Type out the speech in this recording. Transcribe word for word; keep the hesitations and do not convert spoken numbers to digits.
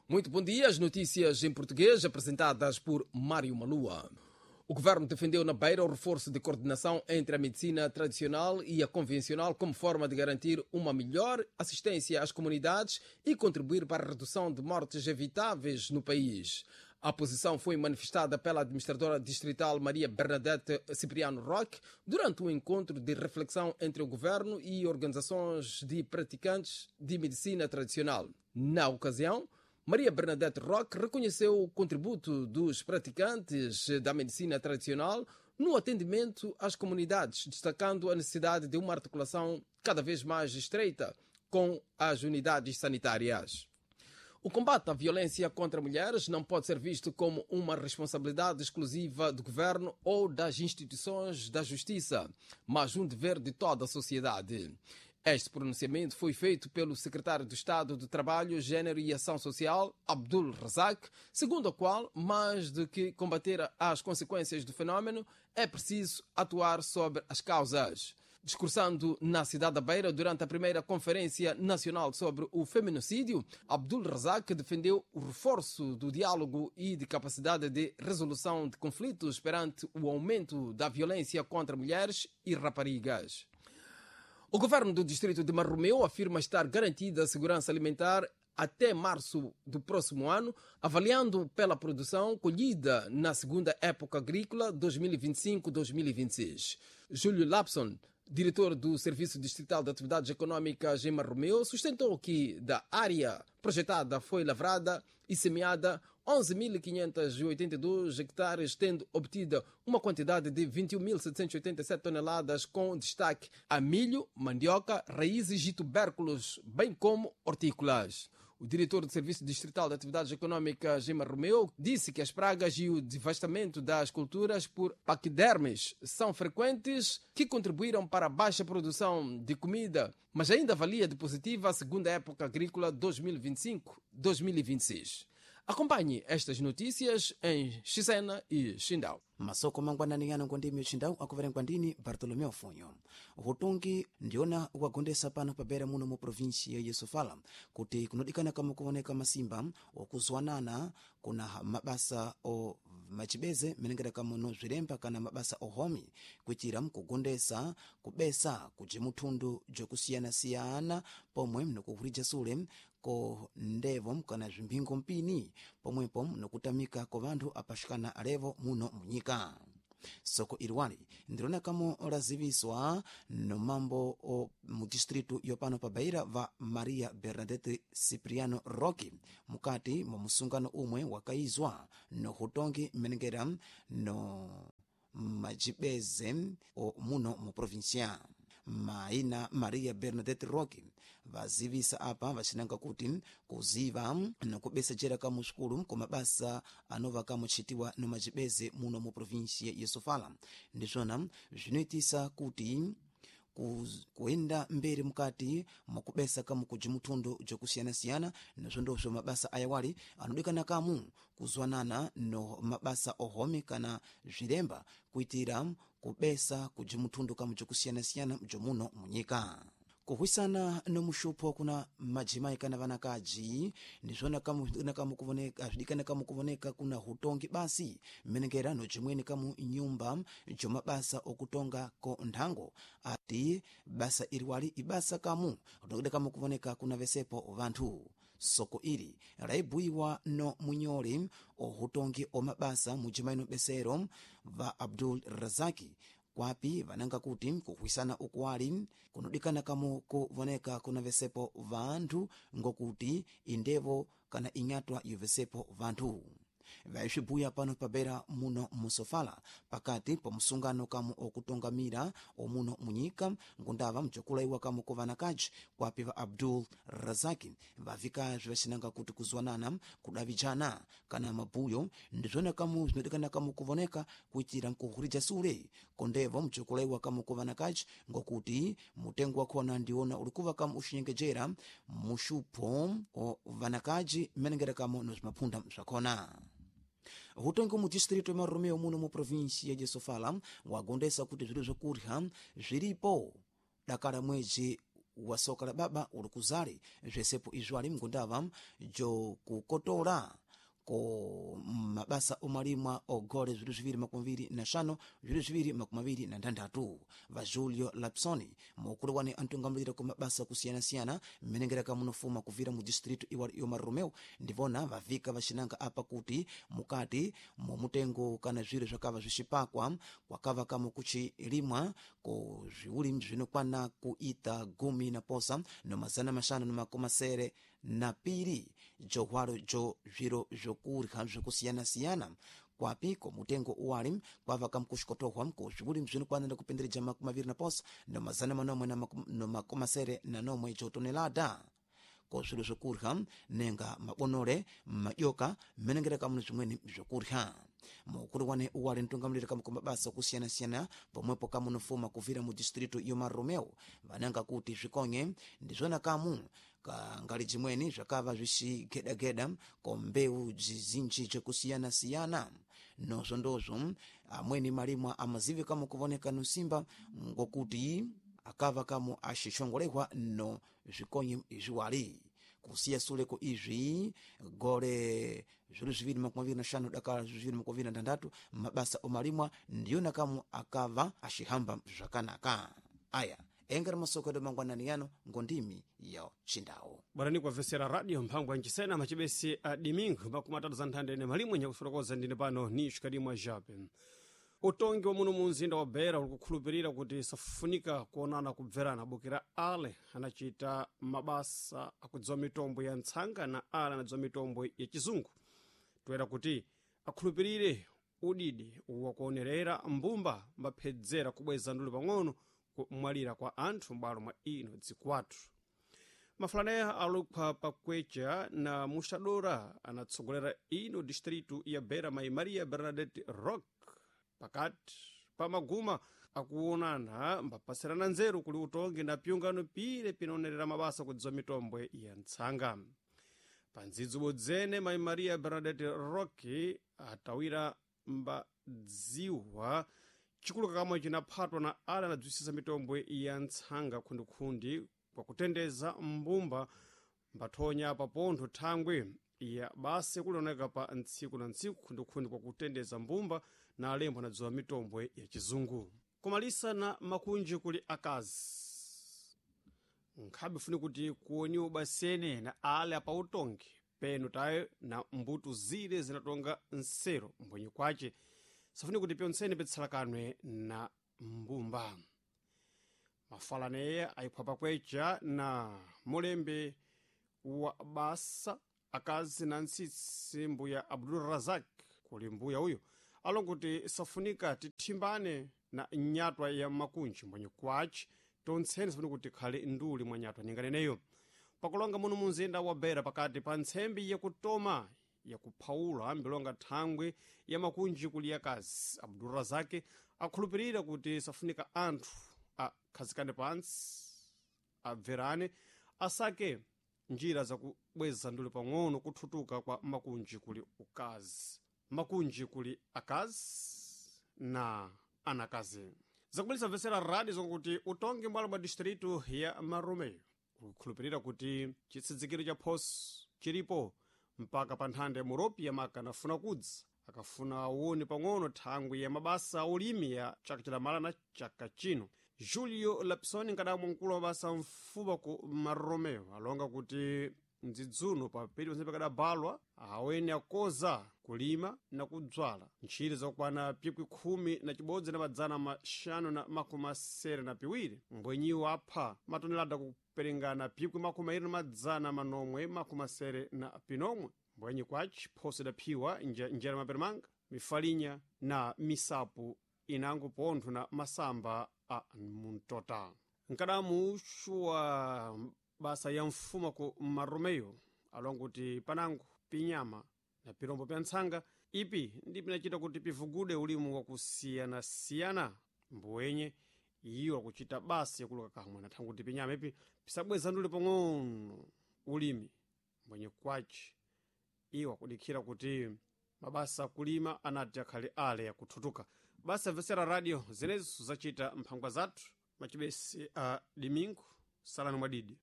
Muito bom dia. As notícias em português apresentadas por Mário Malua. O governo defendeu na Beira o reforço de coordenação entre a medicina tradicional e a convencional como forma de garantir uma melhor assistência às comunidades e contribuir para a redução de mortes evitáveis no país. A posição foi manifestada pela administradora distrital Maria Bernadette Cipriano Roque durante um encontro de reflexão entre o governo e organizações de praticantes de medicina tradicional. Na ocasião, Maria Bernadette Roque reconheceu o contributo dos praticantes da medicina tradicional no atendimento às comunidades, destacando a necessidade de uma articulação cada vez mais estreita com as unidades sanitárias. O combate à violência contra mulheres não pode ser visto como uma responsabilidade exclusiva do governo ou das instituições da justiça, mas um dever de toda a sociedade. Este pronunciamento foi feito pelo secretário de Estado do Trabalho, Gênero e Ação Social, Abdul Razak, segundo o qual, mais do que combater as consequências do fenômeno, é preciso atuar sobre as causas. Discursando na cidade da Beira durante a primeira Conferência Nacional sobre o Feminicídio, Abdul Razak defendeu o reforço do diálogo e de capacidade de resolução de conflitos perante o aumento da violência contra mulheres e raparigas. O governo do distrito de Marromeu afirma estar garantida a segurança alimentar até março do próximo ano, avaliando pela produção colhida na segunda época agrícola dois mil e vinte e cinco-dois mil e vinte e seis. Júlio Lapson, diretor do Serviço Distrital de Atividades Econômicas em Marromeu, sustentou que da área projetada foi lavrada e semeada onze mil quinhentos e oitenta e dois hectares, tendo obtido uma quantidade de vinte e uma mil setecentas e oitenta e sete toneladas, com destaque a milho, mandioca, raízes e tubérculos, bem como hortícolas. O diretor do Serviço Distrital de Atividades Econômicas em Marromeu disse que as pragas e o devastamento das culturas por paquidermes são frequentes, que contribuíram para a baixa produção de comida, mas ainda avalia de positiva a segunda época agrícola dois mil e vinte e cinco-dois mil e vinte e seis. Acompanhe estas notícias em Chisena e Xindau. Masoko mangwanani yano ngondimi uchindau akuverengwa ndini Bartolomeu Funyo. Hutungi ndiona wagondesa pano pabera muno mu provinsia ya Sofala kuti kunodikana kama kuoneka masimba okuzwanana kuna mabasa o machibeze menengera kamuno zwilemba kana mabasa ohomi kuitira mkugondesa kubesa kuji muthundu jokusiyanasiyana pomwe mnokuhurija sule ko ndevo kana zvimphingo mpini pomwepo nokutamika ko vanthu apaxikana alevo muno munyika. Soko iliwali ndilona kamo laziviswa nomambo o mudistritu yopano pa Beira va Maria Bernadette Cipriano Roque mukati mwa musungano umwe wakaizwa nohutongi mmenengera no majibeze o muno mu provincia. Maina Maria Bernadette Roque vazivisa apa vacinanga kuti kuziva nokubesa jera kamu sukulu kumabasa anova kamuchitiwa nomacibeze muno mu provinsia ya Sofala ndizvona zvinoitisa kuti kuyenda mberi mukati mwakubesa kamu kuji muthundu jokusiyanasiyana. Nazvondozvo mabasa ayawali anodikana kamu kuzwanana no mabasa ohomi kana zvilemba kuitira kubesa kuji muthundu kamu jokusiyanasiyana jomuno munyika. Kuhwisana nomuxupho kuna majimai kana vanakaji ndizvona kamu kuvoneka zvidikana kamu kuvoneka kuna hutongi basi mmenengera nojimweni kamu nyumba jomabasa okutonga ko nthango ati basa iriwali ibasa kamu rinokida kamu kuvoneka kuna vesepo vanthu. Soko ili laibuiwa no munyoli ohutongi omabasa mujimaino besero va Abdul Razaki kwapi vananga kuti kuhwisana ukuwali kunodikana kamu kuvoneka kuna vesepo vanthu ngokuti indevo kana inyatwa yovesepo vanthu. Vaisvibuya pano pabera muno musofala pakati pa musungano kamu okutongamira omuno munyika ngundava mjokulaiwa kamu ku vanakaji kwapi va Abdul Razaki vavikazve vacinanga kuti kuzwanana, kudavijana kana mabuyo ndizvona kamu zvinodikana kamu kuvoneka kuitira nkuhurija sule kondevo mjokulaiwa kamu ku vanakaji ngokuti mutengo wakhona ndiwona ulikuva kamu uxinyengejera muxupho o vanakaji mmenengera kamu nozvimaphunda zvakhona. Hutongi mu distrito ya Marromeu muno mu provinsia ya Sofala wagondesa kuti zviro zvokurya zviripo dakala mwedzi. wa soka la baba uli kuzali zvesepo izvo ali mngundava jokukotola ko mabasa omalimwa ogole zwiwiri zviwiri makumi awiri na xanu zwiwiri zviwiri makumi awiri na nthanthatu. Va Julio Lapsoni mukulu wane antungamulira ku mabasa kusiyanasiyana mmenengeraka munofuma kuvira mu distrito iwali yo Marromeu ndivona vavika vaxinanga apa kuti mukati mumutengo kana zwiro zvakava zvixipakwa kwakava kamo kuchilimwa ko zviulimi zvinokwana kuita gumi na posa no mazana maxanu no makumi masere na piri johwalo jo zviro zvokurya zvokusiyana-siyana kwapi komutengo uwali kwava kamkuxikotohwa ko zviulimi zvinokwanira kupendereja makumi aviri na posa no mazana manomwe no makumi masere na nomwe jotonelada ko zviro zvokurya nenga mabonole madyoka mmenengera kamuno zvimweni zvokurya. Mukulu wane uwali mtungamuliri kamu mabasa kusiyana-siyana pomwepo kamunofuma kuvira mu distrito yo Marromeu vananga kuti zvikonye ndizvona kamu kangali jimweni zvakava zvixigedageda ko mbewu zizinji jekusiyana-siyana nozvondozvo amweni malimwa amazivi kamu kuvoneka nusimba ngokuti akava kamu axixongolehwa no zvikonye izviwali. Kusiya suleko izvi gole zviwiri zviwiri makumi aviri na xanu dakala zviwiri makumi aviri na nthanthatu mabasa omalimwa ndiyona kamu akava axihamba zvakanaka. Aya engera masoko edu mangwanani yano ngondimi ya xindawu bwarani kuwavesera radio mphango yancisena macibesi a domingo makumi atatu za nthanda ine malimwe nyakufotokoza ndine pano ni xikadimwa jape. Utongi wa muno mu mzinda wa Beira uli kukhulupirira kuti safunika kuonana kubverana bukira ale anachita mabasa akudziwa mitombo ya ntsanga na ale anadziwa mitombo ya chizungu toera kuti akhulupirire udidi wakuonerera mbumba mbaphedzera kubweza nduli pang'ono kumwalira kwa anthu m'bwalo mwa ino dzikwathu. Mafulaneya alukhwa pakwecha na muxadora anatsogolera ino distritu ya Beira mai Maria Bernadette Rock pakati pa maguma akuonana mbapasirana nzeru kuli utongi na pyungano pile pinonerera mabasa kudziwa mitombo ya ntsanga. Pa ndzidzo bodzene mai Maria Bernadette Rock atawira mbadziwa chikulu kakamwe cinaphatwa na ale anadzwisisa mitombo ya ntsanga khundikhundi kwakutendeza mbumba mbathonya papontho thangwi ya basi kulioneka pa ntsiku na ntsiku khundikhundi kwakutendeza mbumba na alembo anadziwa mitombo ya chizungu. Kumalisa na makunji kuli akazi nkhabe funi kuti kuoniwa basene na ale apautongi peno tayo na mbuto zile zinatonga nsero mbwenye kwace safuni kuti pyontsene pitsalakanwe na mbumba. Mafalaneya ayiphwa pakwecha na mulembe wa basa akazi na ntsitsi mbuya Abdul Razak kuli mbuya uyo alonguti safunika tithimbane na nyatwa ya makunji mbwenye kwace tontsene safuni kuti khale nduli mwa nyatwa ninganeneyo. Pakulonga muno munzinda wa Beira pakati pa ntsembi yakutoma yakuphawula mbilonga thangwi ya makunji kuli yakazi Abdulrazaki akhulupirira kuti safunika anthu akhazikane pansi abverane asake njira zakubweza nduli pang'ono kuthutuka kwa makunji kuli ukazi makunji kuli akazi na anakazi. Zakubulisa mvesera radi zokuti utongi mbwalo bwa distritu ya Marromeu kukhulupirira kuti chitsidzikiro cha phoso chilipo mpaka pa nthanda ya muropi yamaka anafuna kudza akafuna awone pang'ono thangwi ya mabasa aulimi ya chaka chidamala na chaka chino. Julio Lapsoni nkadamwa mkulu wa mabasa mfupa ku Marromeu alonga kuti mdzidzuno papiri ponse pakadabalwa awene akoza kulima na kudzwala ntchire zakukwana pikwi khumi na chibodzi na madzana maxanu na makumi asere na piwiri mbwenyiwo apha matonelada kuperengana pikwi makumi airi na madzana manomwe makumi asere na pinomwe mbwenyi kwaci phoso idaphiwa njera maperamanga mifalinya na misapu inango pontho na masamba a muntota. Nkadamu uxu wa basa ya mfuma ku Marromeu alonga kuti panango pinyama na pirombo pya ntsanga ipi ndi pinacita kuti pivugude ulimu wakusiyanasiyana mbuwenye iyo akucita basi yakuluka kamwe na thangwi kuti pinyama ipi pisabweza nduli pang'ono ulimi mbwenye kwaci iwo akudikhira kuti mabasa akulima anati akhale ale yakuthutuka. Basa mvesera radio zenezo zacita mphangwa zathu macibesi a domingo Salani mwadidi.